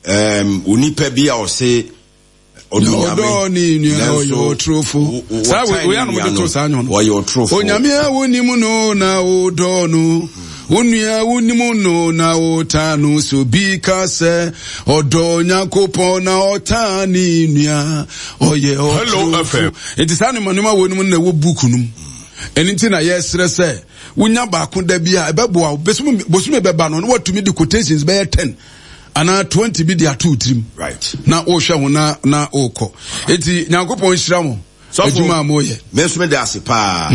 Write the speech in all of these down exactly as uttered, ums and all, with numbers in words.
Um, onipa bi a ɔse ɔdɔ ne nua ɔyɛ ɔtorofo. Saa wei anom de to saa nwom no. Ɔyɛ ɔtorofo. Onyame a wonim no na wodɔ no, wo nua wonim no na wotaa no, so bi ka sɛ ɔdɔ Onyankopɔn na ɔtaa ne nua, ɔyɛ ɔtorofo. Nti saa nneɛma nneɛma wɔ no mu na ɛwɔ book no mu. Ɛno nti na yɛsrɛ sɛ wonya baako da bi a ɛbɛboa wo. Bosome bɛba no na watumi de quotations bɛyɛ ten anaa twenty bi de ato tirim. Right. Na wohwɛ ho na na wokɔ. Enti Nyankopɔn nhyira mo adwuma a moyɛ. Me nso meda ase paa.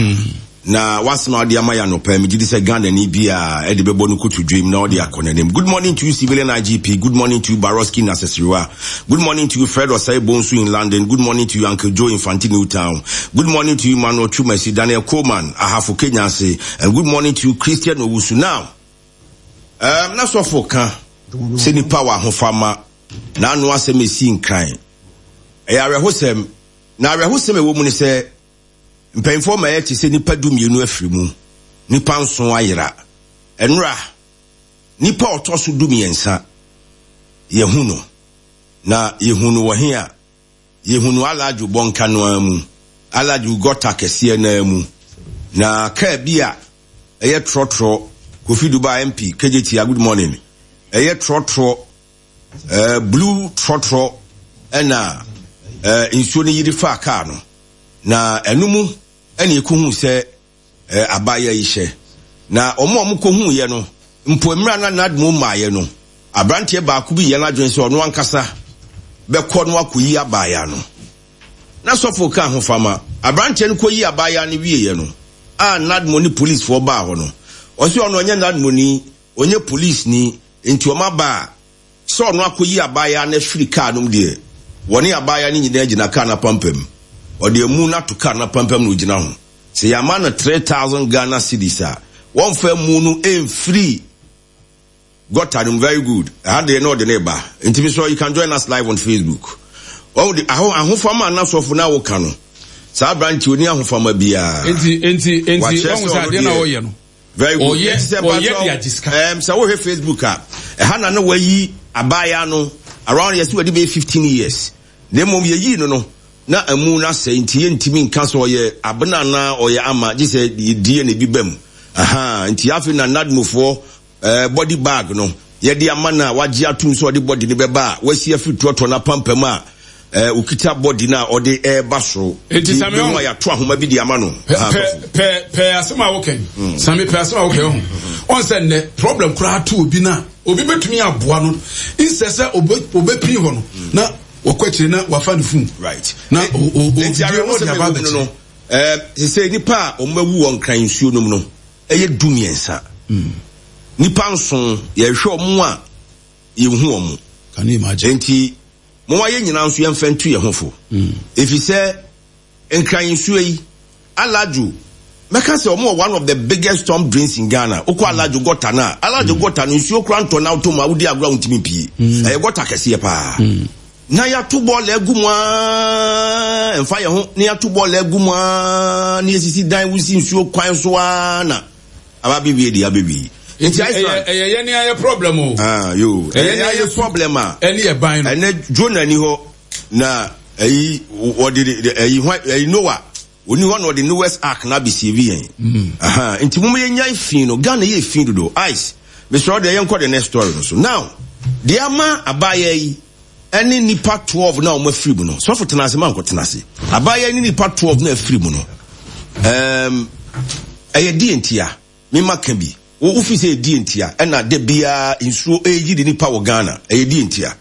Na wasɛm a wode ama yɛ anɔpa, megye di sɛ Ghanani bi a ɛde bɛbɔ no koto dwem na ɔde akɔ n'anim. Good morning to you, civilian I G P. Good morning to you, Baroski Nasesiriwa. Good morning to you, Fred Osei Bonsu in London. Good morning to you, Uncle Joe in Fanti Newtown. Good morning to you, Manuel Chumesi, Daniel Coleman, Ahafo Kenyase, and good morning to you, Christian Owusu. Now, um, na sɔfo ka sɛ nipa wɔ ahofama na ano asɛm esi Nkran. Ɛyɛ awerɛhosɛm, na awerɛhosɛm ɛwɔ mu ne sɛ mpanyinfoɔ ma yɛte sɛ nipa du mmienu afiri mu, nipa nson ayera. Ɛnora nipa a ɔtɔ so du mmiɛnsa yɛhu no, na yɛhu no wɔ he a yɛhu no Alajo bɔnka no ara mu, Alajo gɔta kɛseɛ no ara mu, na kaa bi a ɛyɛ trɔtrɔ. Kofi Dubai M P K J T, good morning. Ɛyɛ trɔtrɔ, ɛɛ blue trɔtrɔ, ɛna ɛɛ nsuo no yiri fa kaa no, na ɛno mu ɛna ekohu sɛ ɛɛ abaayewa yi hyɛ. Na wɔn a wɔkɔhu yɛ no mpo, mmerɛ na NADMO mmaayɛ no, aberanteɛ baako bi yɛ n'adwene sɛ ɔno ankasa bɛkɔ no akɔyi abaayewa no. Na sɔfo ka ahofama aberanteɛ no kɔyi abaayewa no wieɛ no a, NADMO ne policefoɔ baa hɔ no, ɔsɛ ɔno ɔnyɛ NADMO ni, ɔnyɛ police ni, nti ɔma ba a sɛ ɔno akɔyi abaayewa no afiri kaa no mu deɛ, wɔne abaayewa no nyinaa gyina kaa no apampam. Ɔde amu no ato kaa no apampam na ogyina ho sɛ yɛama no three thousand Ghana cedis a, wɔmfa mu no mfiri gɔta no mu. Very good. Ɛha deɛ na ɔde ne ba, nti mi sɔ you can join us live on Facebook. Wɔn de aho ahofama anasɔfo na awoka no, saa aberante oni ahofama biara. Nti nti nti wɔn sɛ adeɛ na ɔyɛ no. Very good. Ɔyɛ ɔyɛ de agye sika. ɛm sɛ wohwɛ Facebook a, ɛha na na wayi abaayewa no around yɛsɛ wɔde bɛyɛ fifteen years, na mmom yɛyii no no na amu no asɛe, nti yɛntumi nka sɛ ɔyɛ abena anaa ɔyɛ ama, gye sɛ D N A bi ba mu. Aha nti afei na NADMOfoɔ ɛɛ body bag no yɛde ama no a wagye atum sɛ ɔde body no bɛba a wasi afiri trɔtrɔ no apampam a ɛɛ okita body no a ɔde ɛɛba soro. Enti Sami ɔho a yɛato ahoma bi de ama no. Pɛ pɛ pɛ asɛm a wokɛn, Sami, pɛ asɛm a wokɛn ho. Ɔn sɛ nnɛ problem koraa to obi na obi bɛtumi aboa no nsɛ sɛ obɛpini hɔ no na wɔkɔ akyire na wafa ne phone. Right. Na o o o Nti awerɛho sɛ mɛwɔ mu no, ɛɛ sɛ nipa a wɔn awu wɔ Nkran nsuo no mu no ɛyɛ du mmiɛnsa. Nipa nson yɛhwɛ wɔn a yɛnhu wɔn. Can you imagine? Nti mo wa yɛ nyinaa nso yɛmfa ntu yɛn ho fo, efi sɛ Nkran nsuo yi, Alajo, mɛka sɛ ɔmo wɔ one of the biggest storm drains in Ghana. Okɔ Alajo gɔta no a, Alajo gɔta no, nsuo kora ntɔ na wotɔ mu a, wodi agorɔ a, wontumi mpie. Ɛyɛ gɔta kɛseɛ paa na yɛato bɔɔla agu mu aa, mfa yɛn ho na yɛato bɔɔla agu mu aa, na yɛsisi dan wosi nsuo kwan so aa, na aba bɛwie deɛ abɛwie. Nti ɛyɛ ɛyɛ yɛn ni ayɛ problem o. Ah yo, ɛyɛ ayɛ problem a. Ɛne ɛban no. Ɛnɛ Jonah ni hɔ na ɛyi wɔde ɛyi hwan, ɛyi Noah oni hɔ na ɔde Noah's Ark na abɛsievi yɛn. Aha nti mo yɛ nyan fi no, Ghana yɛ fi dodo. Ice mesrɛ deɛ, yɛnkɔ the next story no so. Now deɛ ama abaayewa yi ɛne nipa twelve na wɔn afiri mu no, sɔfo tena ase ma nkɔ tena ase. Abaayewa ne nipa twelve na afiri mu no, ɛɛm ɛyɛ die ntia mema ka bi wo wofi sɛ ɛdie ntia ɛna da biara nsuo ɛyi de nipa wɔ Ghana, ɛyɛ die ntia?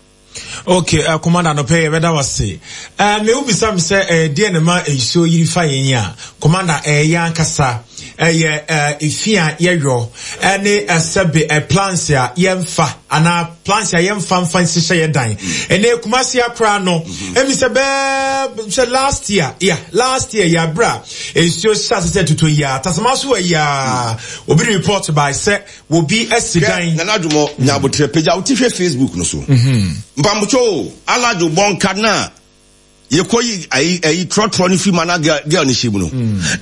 Okay, uh, Commander, no pɛ yɛbɛda wase. uh, me wobisa me sɛ uh, deɛ ne ma nsuo yiri fa yɛn a, Commander, ɛyɛ uh, ankasa ɛyɛ uh, efi a yɛyɔ ɛne uh, sɛbe uh, plans a yɛmfa anaa plans a yɛmfa mfa nhyehyɛ yɛ dan. Ɛnɛ Kumasi akora no, ɛmi sɛ bɛɛ sɛ last year, yeah, last year yɛ abira nsuo hyɛ ase sɛ tutu yi a tasama so wɔ yi a, obi report by sɛ obi asi dan. Nana Adwumɔ nyabotrɛ pagya wote hwɛ Facebook no so. Mpamotwo o, Alajo bɔnka na yɛkɔ yi ayi ayi trɔtrɔ no firi ma na girl girl no hyɛ mu no,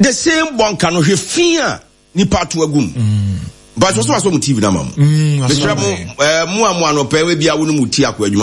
the same bɔnka no, hwɛ fi a nipa ato agu mu. Mpatwɛ so wasɔ mo T V na ma mo. Mesrɛ mo, ɛɛ mo a mo anɔpɛ ebi a wo ne mo ti akɔ adwuma.